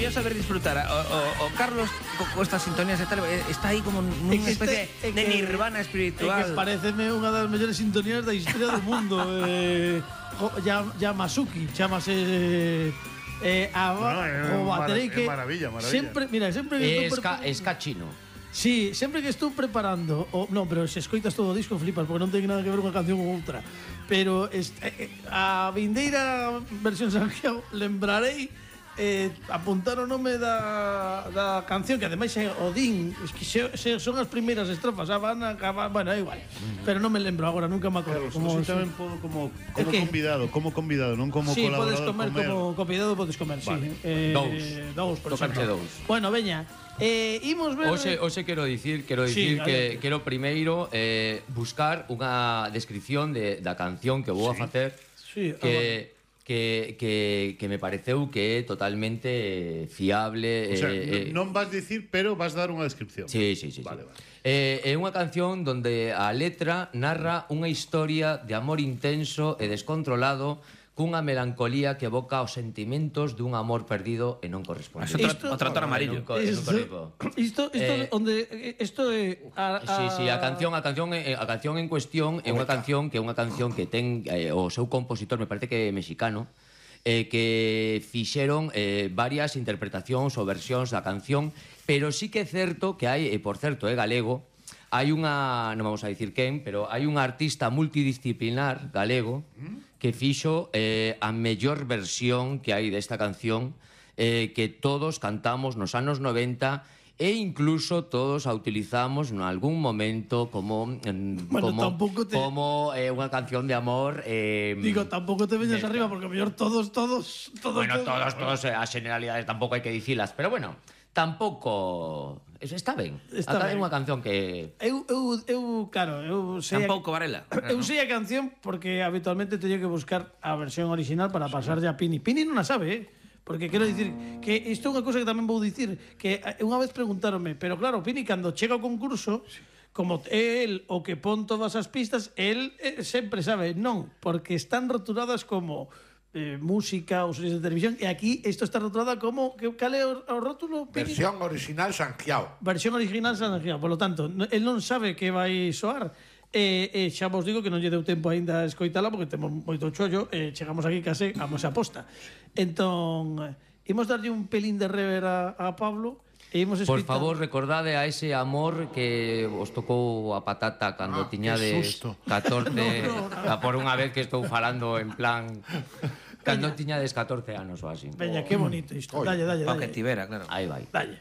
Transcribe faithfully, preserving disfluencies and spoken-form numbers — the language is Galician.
mellor saber disfrutar. O, o, o Carlos, co, co estas sintonías e tal, está aí como nunha especie este, de nirvana espiritual. É que pareceme unha das mellores sintonías da historia do mundo. eh, Yamasuki, chamase... Eh, a, bueno, o baterei que maravilla, maravilla. Sempre, mira, sempre que estou esca, esca chino. Sí, sempre que estou preparando, o, non, pero se escoitas todo o disco flipas porque non ten nada que ver unha canción ou outra. Pero est, eh, a vindeira versión Sanxiao lembrarei eh, apuntar o nome da, da canción, que ademais é Odín, es que se, se son as primeiras estrofas, a van a acabar, bueno, é igual, pero non me lembro agora, nunca me acordo. Como si tamén podo como, como convidado, como convidado, non como sí, colaborador. Sí, podes comer, comer como convidado, podes comer, vale. sí. Eh, dous. Dous, por exemplo. Dous. Bueno, veña, eh, imos ver... Oxe, oxe quero dicir, quero dicir Sí, que quero primeiro eh, buscar unha descripción de, da canción que vou a facer Sí, que... Que, que, que me pareceu que é totalmente fiable. O sea, eh, non vas dicir, pero vas dar unha descripción. Sí, sí, sí. Vale, sí. vale. Eh, é unha canción donde a letra narra unha historia de amor intenso e descontrolado cunha melancolía que evoca os sentimentos dun amor perdido e non correspondido. Isto, o trator amarillo. Isto, isto, isto Eh, onde isto é a, a... Sí, sí, a canción, a canción, a canción en cuestión é unha canción que é unha canción que ten eh, o seu compositor, me parece que é mexicano, eh, que fixeron eh, varias interpretacións ou versións da canción, pero sí que é certo que hai, e por certo é galego, hai unha, non vamos a dicir quen, pero hai un artista multidisciplinar galego que fixo eh, a mellor versión que hai desta canción, eh, que todos cantamos nos anos noventa e incluso todos a utilizamos en algún momento como mm, Bueno, como, tampouco te- como eh, unha canción de amor. eh, Digo, tampouco te veñas Neta. arriba porque a mellor todos, todos, todos... Bueno, todos, todos, eh, as generalidades tampouco hai que dicilas, pero bueno, tampouco... Eso está ben. Está Acá é ben. unha canción que... Eu, eu, eu, claro, eu sei... Tampouco, Varela. Eu sei a canción porque habitualmente teño que buscar a versión original para pasarlle a Pini. Pini non a sabe, eh? Porque quero dicir que isto é unha cousa que tamén vou dicir, que unha vez preguntaronme, pero claro, Pini, cando chega ao concurso, como é el o que pon todas as pistas, el eh, sempre sabe, non, porque están rotuladas como eh, música ou series de televisión, e aquí isto está rotulada como, que, cal é o, o rótulo, Pini? Versión original Sanxiao. Versión original San Angel. Por lo tanto, no- el non sabe que vai soar. E, e xa vos digo que non lle deu tempo aínda a escoitala porque temos moito chollo e chegamos aquí case a mosa posta. Entón, eh, imos darlle un pelín de rever a, a Pablo e imos Por escoitar... favor, recordade a ese amor que os tocou a patata cando Ah, tiñades que susto. catorce, No, no, no. a por unha vez que estou falando en plan cando tiñades catorce anos ou así. Veña, que bonito isto. Oi. Dalle, dalle, O que dalle. tibera, claro. Aí vai. Dalle.